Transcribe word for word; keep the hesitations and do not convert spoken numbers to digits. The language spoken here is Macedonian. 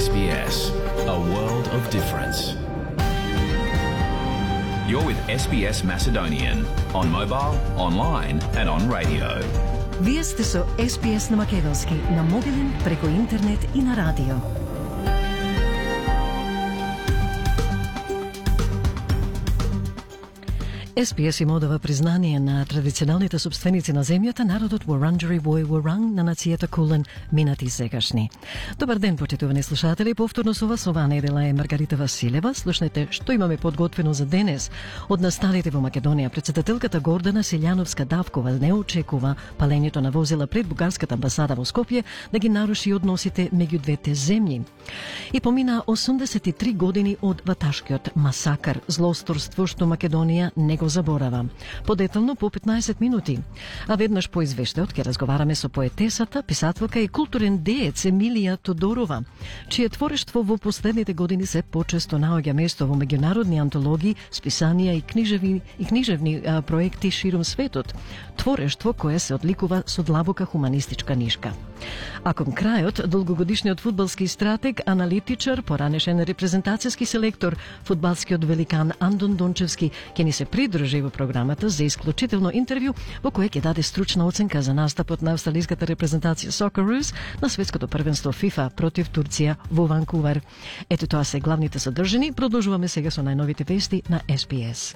S B S, a world of difference. You're with S B S Macedonian on mobile, online and on radio. Вие сте со С Б С на македонски, на мобилен, преку интернет и на радио. С Б С им одава признание на традиционалните собственици на земјата, народот Вуранџери Вој Вуранг на нацијата Кулен, минати и сегашни. Добар ден, почитувани слушатели, повторно со вас ова недела е Маргарита Василева. Слушнете што имаме подготвено за денес. Од настаните во Македонија, претседателката Гордана Силјановска-Давкова не очекува палењето на возила пред бугарската амбасада во Скопје да ги наруши односите меѓу двете земји. И помина осумдесет и три години од ваташкиот масакар, злосторство што Македонија не го заборава. Подетално по петнаесет минути. А веднаш по извештајот ќе разговараме со поетесата, писателка и културен деец Емилија Тодорова, чие творештво во последните години се почесто наоѓа место во меѓународни антологии, списанија и книжевни и книжевни а, проекти ширум светот. Творештво кое се одликува со длабока хуманистичка нишка. А кон крајот, долгогодишниот фудбалски стратег, аналитичар, поранешен репрезентацијски селектор, фудбалскиот великан Андон Дончевски ќе ни се придружи во програмата за исклучително интервју во кое ќе даде стручна оценка за настапот на австралиската репрезентација Socceroos на светското првенство FIFA против Турција во Ванкувер. Ето тоа се главните содржини. Продолжуваме сега со најновите вести на С Б С.